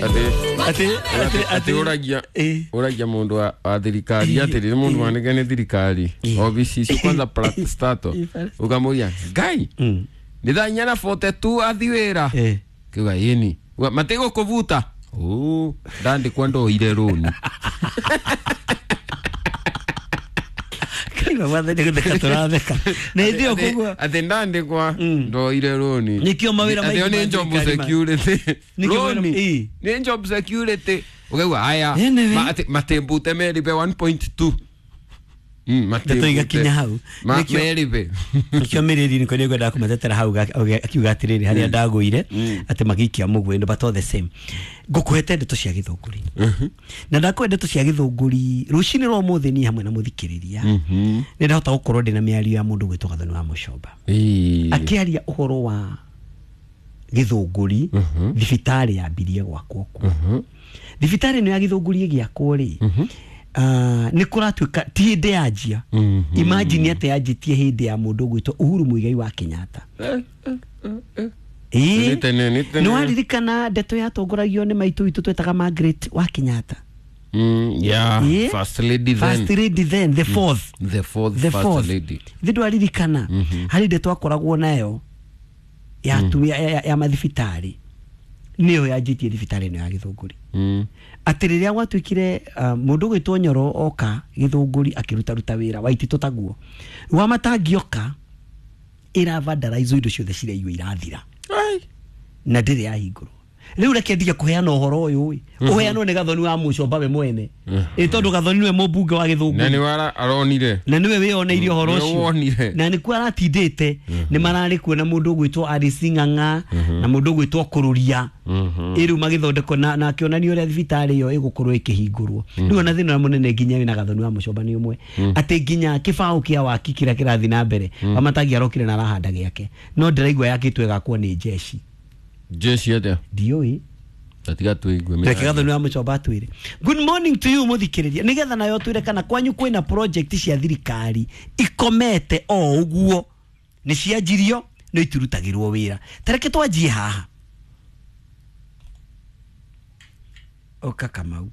Atĩ Atĩ atĩ ũragia Eh. ũragia mũndũ wa thirikari atĩrĩ nĩ mũndũ wanĩke nĩ thirikari obici icio kwanza parastato ũkamũria ngai nĩ thaa 4:42 athi wĩra Eh. kiuga ĩni matigũkũbuta ũ ndandĩkwa ndoire rũni. Kaigua mwathani gũtheka tũratheka na hĩndĩ ĩyo koguo Atĩ ndandĩkwa ndoire rũni. Nĩkĩo mawĩra Atĩ ĩyo maingĩ nĩ ma job thirikari security. Nĩkĩo mawĩra- Rũni Ĩ. nĩ job security ũkaigua aya Anyway. atĩ matĩmbute meribe 1.2. Ndeto igakinya hau. Meribe. Nikio mĩrĩri nĩko nĩngwendaga kũmatetera hau akiuga atĩrĩrĩ harĩa ndagũire atĩ magĩikia mũgwĩndũ, but all the same ngũkũhete ndeto cia gĩthũngũri na ndakũhe ndeto cia gĩthũngũri rũcinĩ rwa ũmũthĩ niĩ hamwe na mũthikĩrĩria nĩ ndahota gũkorwo ndĩna mĩario ya mũndũ gwĩtwo Gathoni wa Mũcomba akĩaria ũhoro wa gĩthũngũri thibitarĩ yambirie gwakwo kuo. Thibitarĩ ĩno ya gĩthũngũri ĩgĩakwo rĩ, nĩ kũratuĩka ti hĩndĩ yanjia. Imagine atĩ yanjĩtie hĩndĩ ya mũndũ ũgwĩtwo Uhuru Muigai wa Kenyatta. Ĩĩ. Nĩ tene, nĩ tene. Nĩ waririkana ndeto yatongoragio nĩ maitũ witũ twetaga Margaret wa Kenyatta? Yeah, Ĩĩ. first lady then. First lady then, the fourth. The fourth The first fourth lady. Thĩ ndwaririkana harĩ ndeto akoragwo nayo ya atumia ya mathibitarĩ nĩyo yanjĩtie thibitarĩ ĩno ya gĩthũngũri. Atĩ rĩrĩa gwatuĩkire mũndũ ũgwĩtwo Nyoro oka gĩthũngũri akĩrutaruta wĩra waititũ taguo wa matangĩoka ĩravandaraizwo indo ciothe ciraiywo irathira. Ai. Na ndĩrĩ yahingũrwo rĩu reke ndige kũheana ũhoro ũyũ ĩ ũheanwo nĩ Gathoni wa Mũcomba we mwene ĩ tondũ Gathoni nĩwe mũmbunge wa Na gĩthũngũri nĩ wara aronire. Na nĩwe wĩyoneire ũhoro Nĩwe ũcio. wonire. Na nĩkuo aratindĩte nĩ mararĩ kuo na mũndũ ũgwĩtwo Alice Ng'ang'a na mũndũ ũgwĩtwo Kũrũria ĩ rĩu magĩthondekwo na akĩonania ũrĩa thibitarĩ ĩyo ĩgũkorwo ĩkĩhingũrwo rĩu ona thĩna ũrĩa mũnene nginya wĩna Gathoni wa Mũcomba nĩ ũmwe atĩ nginya kĩbaũ kĩa waki kĩrĩa kĩrathiĩ na mbere Wamatangi arokire na arahanda gĩake no ndĩraigua yakĩtwo ĩgakwo nĩ jeshi. Jeshi atĩa? Ndiũĩ. Tatiga tuigue. Reke Gathoni wa Mũcomba atwĩre. Good morning to you mũthikĩrĩria nĩgetha nayo twĩre kana kwanyu kwĩna project cia thirikari ikomete o ũguo nĩ cianjirio no itirutagĩrwo wĩra. Tareke twanjie haha ũka Kamau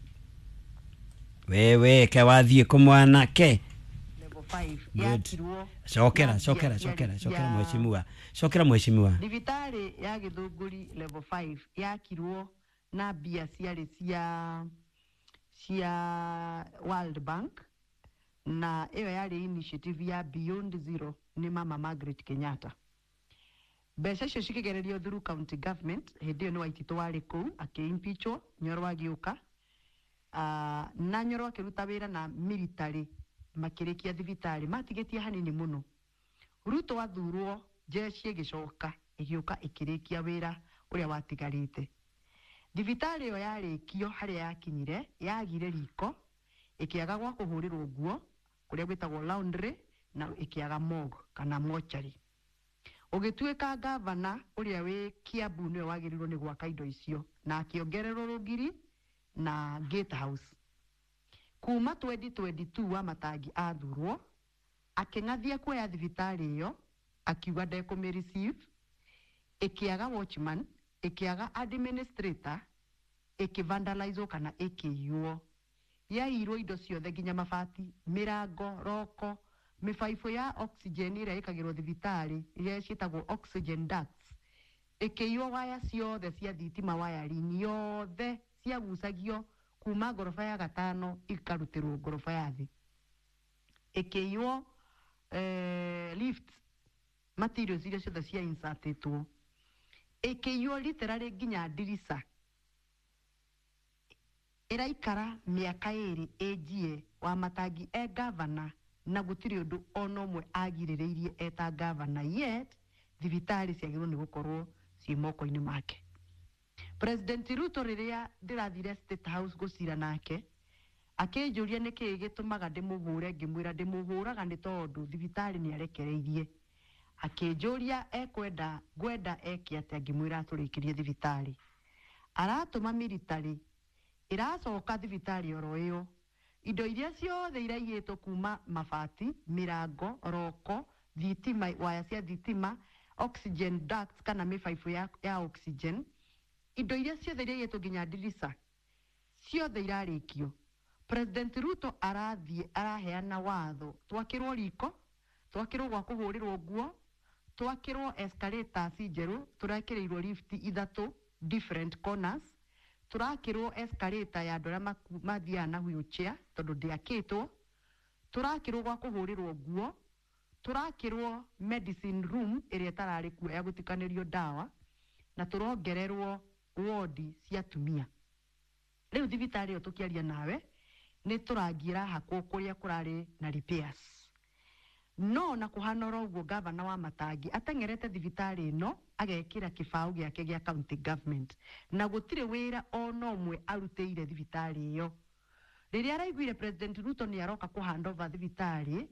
wewe ke wathiĩ kũ mwanake? Level 5 Good. yakirwo Cokera. na Cokera. mbia Cokera. ciarĩ Cokera. cia Mheshimiwa, cokera mheshimiwa. Thibitarĩ ya Gĩthũngũri level 5 yakirwo na mbia ciarĩ cia World Bank na ĩyo yarĩ initiative ya Beyond Zero nĩ mama Margaret Kenyatta. Mbeca icio cikĩgererio through county government hĩndĩ ĩyo nĩ Waititũ warĩ kũu akĩimpeachwo Nyoro agĩũka. Na Nyoro akĩruta wĩra na military makĩrĩkia thibitarĩ matigĩtie hanini mũno. Ruto athurwo jeshi ĩgĩcoka ĩgĩũka ĩkĩrĩkia wĩra ũrĩa watigarĩte. Thibitarĩ ĩyo yarĩkio harĩa yakinyire yagire riko ĩkĩaga gwa kũhũrĩrwo nguo kũrĩa gwĩtagwo laundry na ĩkĩaga morgue kana mortuary. Ũgĩtuĩka gavana ũrĩa wĩ Kiambu nĩwe wagĩrĩirwo nĩ gwaka indo icio na akĩongererwo rũgiri na gate house. Kuma 2022 wa Matangi athurwo akĩng'athia kuoya thibitarĩ ĩyo akiuga ndekũmĩ receive ĩkĩaga watchman ĩkĩaga administrator ĩkĩvandalizwo kana ĩkĩiywo yaiyirwo indo ciothe nginya mabati mĩrango roko mĩbaibũ ya oxygen ĩrĩa ĩkagĩrwo thibitarĩ iria ciĩtagwo oxygen ducts ĩkĩiywo waya ciothe cia thitima wiring yothe ciagucagio kuma ngoroba ya gatano ikarutĩrwo ngoroba ya thĩ ĩkĩiywo lift materials iria ciothe cia insertĩtwo ĩkĩiywo literally nginya ndirica ĩraikara mĩaka ĩrĩ ĩnjie wa Matangi e gavana na gũtirĩ ũndũ ona ũmwe agirĩrĩirie eta gavana yet thibitarĩ ciagĩrĩirwo nĩ gũkorwo ciĩ moko-inĩ make. President Ruto rĩrĩa ndĩrathire State House gũcira nake akĩnjũria nĩkĩĩ gĩtũmaga ndĩmũhũre ngĩmwĩra ndĩmũhũraga nĩ tondũ thibitarĩ nĩ arekereirie akĩnjũria ekwenda ngwenda eke atĩa ngĩmwĩra atũrĩkĩrie thibitarĩ aratũma military ĩracoka thibitarĩ oro ĩyo indo iria ciothe iraiyĩtwo kuma mabati mĩrango roko thitima waya cia thitima oxygen ducts kana mĩbaibũ ya oxygen. Indo iria ciothe iria igĩtwo nginya ndirica ciothe irarĩkio. President Ruto arathiĩ araheana watho twakĩrwo riko, twakĩrwo gwa kũhũrĩrwo nguo, twakĩrwo escalators njerũ, tũrekĩrĩirwo lift ithatũ different corners, tũrakĩrwo escalator ya andũ arĩa mathiaga na wheelchair tondũ ndĩakĩtwo, tũrakĩrwo gwa kũhũrĩrwo nguo, tũrakĩrwo medicine room ĩrĩa ĩtararĩ kuo ya gũtukanĩrio ndawa, na tũrongererwo wodi cia atumia. Rĩu thibitarĩ ĩyo tũkĩaria nawe nĩ tũrangi ĩrahakwo kũrĩa kũrarĩ na repairs. No na kũhana oro ũguo, gavana wa Matangi ateng'erete thibitarĩ ĩno agekĩra kĩbaũ gĩake gĩa county government, na gũtirĩ wĩra ona ũmwe arutĩire thibitarĩ ĩyo. Rĩrĩa araiguire President Ruto nĩ aroka kũ hand over thibitarĩ,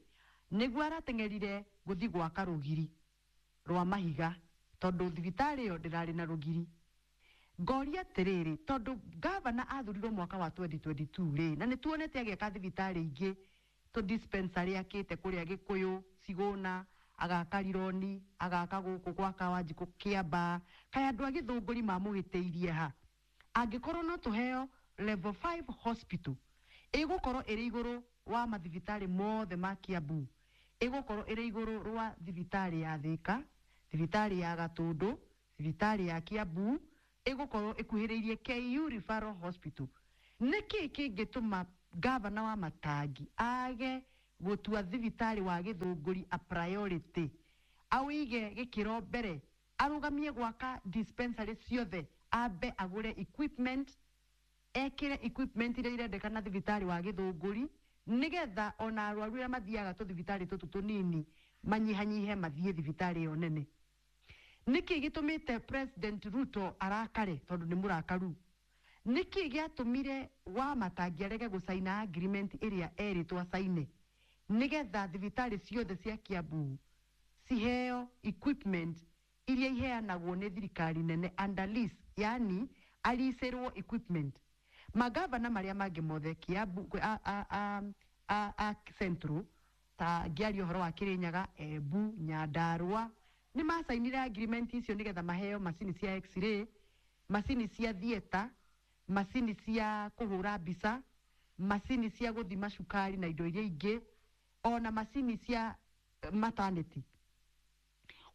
nĩguo arateng'erire gũthiĩ gwaka rũgiri rwa mahiga tondũ thibitarĩ ĩyo ndĩrarĩ na rũgiri. Ngoria atĩrĩrĩ, tondũ gavana athurirwo mwaka wa 2022 rĩ, na nĩ tuonete agĩaka thibitarĩ ingĩ, tũ dispensary akĩte kũrĩa Gĩkũyũ, Cigũna, agaka Rironi, agaka gũkũ gwa Kawanjikũ Kĩambaa, kaĩ andũ a Gĩthũngũri mamũhĩtĩirie ha? Angĩkorwo no tũheo level 5 hospital ĩgũkorwo ĩrĩ igũrũ wa mathibitarĩ mothe ma Kiambu, ĩgũkorwo ĩrĩ igũrũ rwa thibitarĩ ya Thĩka, thibitarĩ ya Gatũndũ, thibitarĩ ya Kiambu, ĩgũkorwo ĩkuhĩrĩirie KU Referral Hospital. Nĩkĩ kĩngĩtũma gavana wa Matangi age gũtua thibitarĩ wa Gĩthũngũri a priority, awĩige gĩkĩro mbere, arũgamie gwaka dispensary ciothe, ambe agũre equipment, ekĩre equipment iria irendekana thibitarĩ wa Gĩthũngũri, nĩgetha ona arwaru arĩa mathiaga tũthibitarĩ tũtũ tũnini manyihanyihe mathiĩ thibitarĩ ĩyo nene. Nĩkĩ gĩtũmĩte President Ruto arakare tondũ nĩ mũrakaru? Nĩkĩ gĩatũmire wa Matangi arege gũcaina agreement ĩrĩa erĩtwo acaine nĩgetha thibitarĩ ciothe cia Kiambu ciheo equipment iria iheanagwo nĩ thirikari nene under lease, yani alicĩrwo equipment? Magavana marĩa mangĩ mothe Kiambu a Central, ta ngĩaria ũhoro wa Kirinyaga, Embu, Nyandarua, nĩ macainire agreement icio nĩgetha maheo macini cia x-ray, macini cia theatre, macini cia kũhũra mbica, macini cia gũthima cukari na indo iria ingĩ, ona macini cia maternity.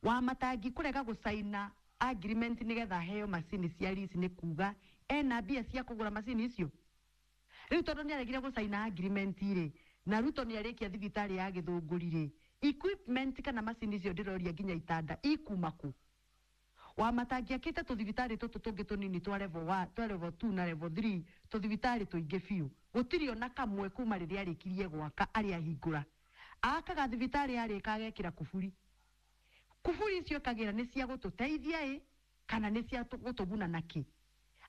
Wa Matangi kũrega gũcaina agreement nĩgetha aheo macini cia lease nĩ kuga ena mbia cia kũgũra macini icio. Rĩu tondũ nĩ aregire gũcaina agreement rĩ, na Ruto nĩ arĩkia thibitarĩ ya Gĩthũngũri rĩ, equipment kana macini icio ndĩroria nginya itanda ikuma kũ? Wa Matangi akĩte tũthibitarĩ tũtũ tũngĩ tũnini twa level 1, twa level 2 na level 3, tũthibitarĩ tũingĩ biũ, gũtirĩ ona kamwe kuma rĩrĩa arĩkirie gwaka arĩa ahingũra. Akaga thibitarĩ yarĩka agekĩra kuburi. Kuburi icio kagĩra nĩ cia gũtũteithia ĩ kana nĩ cia gũtũguna nakĩ?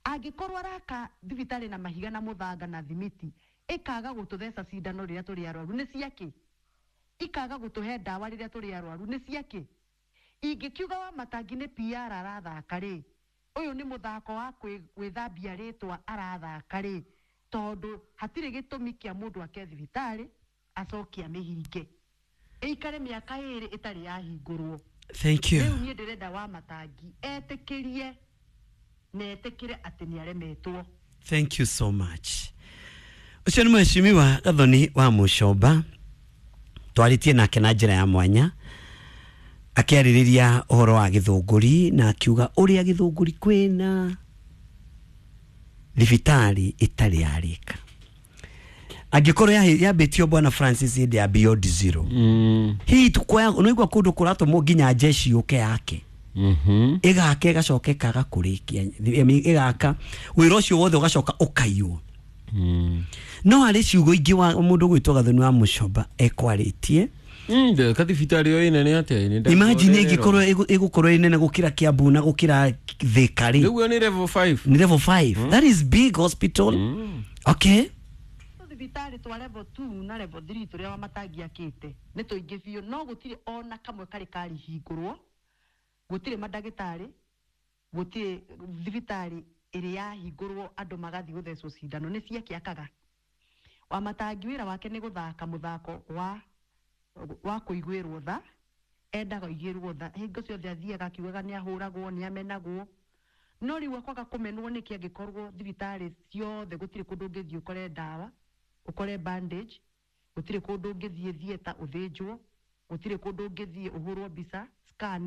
Angĩkorwo araka thibitarĩ na mahiga na mũthanga na thimiti, ĩkaga gũtũtheca cindano rĩrĩa tũrĩ arwaru, nĩ ciakĩ? Ikaga gũtũhe ndawa rĩrĩa tũrĩ arwaru, nĩ ciakĩ? Ingĩkiuga wa Matangi nĩ PR arathaka rĩ, ũyũ nĩ mũthako wa gwĩthambia rĩtwa arathaka rĩ, tondũ hatirĩ gĩtũmi kĩa mũndũ ake thibitarĩ acoke amĩhinge ĩikare mĩaka ĩrĩ ĩtarĩ yahingũrwo. Thank you. Rĩu niĩ ndĩrenda wa Matangi etĩkĩrie na etĩkĩre atĩ nĩ aremetwo. Thank you so much. Ũcio nĩ mheshimiwa Gathoni wa Mũcomba, twarĩtie nake na njĩra ya mwanya akĩarĩrĩria ũhoro wa Gĩthũngũri na akiuga ũrĩa Gĩthũngũri kwĩna thibitarĩ ĩtarĩ yarĩka. Angĩkorwo yambĩtio Bwana Francis hĩndĩ ya Beyond Zero, hihi tukoya nĩigua kũndũ kũratũmwo nginya jeshi yũke yake ĩgaka ĩgacoka ĩkaga kũrĩkia, ĩgaka wĩra ũcio wothe ũgacoka ũkaiywo. No harĩ ciugo ingĩ wa mũndũ gwĩtwo Gathoni wa Mũcomba ekwarĩtie. Kathibitarĩ ĩyo ĩnene atĩa? Imagine ĩngĩkorwo ĩgũkorwo ĩ nene gũkĩra Kiambu na gũkĩra Thĩka rĩ. Rĩu nĩ level 5. Ni level 5. That is big hospital. Okay. Tũthibitarĩ twa level 2 na level 3 tũrĩa wa Matangi akĩte nĩ tũingĩ biũ, no gũtirĩ ona kamwe karĩ karĩhingũrwo, gũtirĩ mandagĩtarĩ, gũtirĩ thibitarĩ ĩrĩ yahingũrwo andũ magathiĩ gũthecwo cindano, nĩ ciakĩakaga. Wa Matangi wĩra wake nĩ gũthaka mũthako wa kũiguĩrwo tha, endaga aiguĩrwo tha hingo ciothe, athiaga akiugaga nĩ ahũragwo, nĩ amenagwo, No rĩu akwaga kũmenwo nĩkĩ angĩkorwo thibitarĩ ciothe gũtirĩ kũndũ ũngĩthiĩ ũkore ndawa, ũkore bandage, gũtirĩ kũndũ ũngĩthiĩ theatre ũthĩnjwo, gũtirĩ kũndũ ũngĩthiĩ ũhũrwo mbica scan?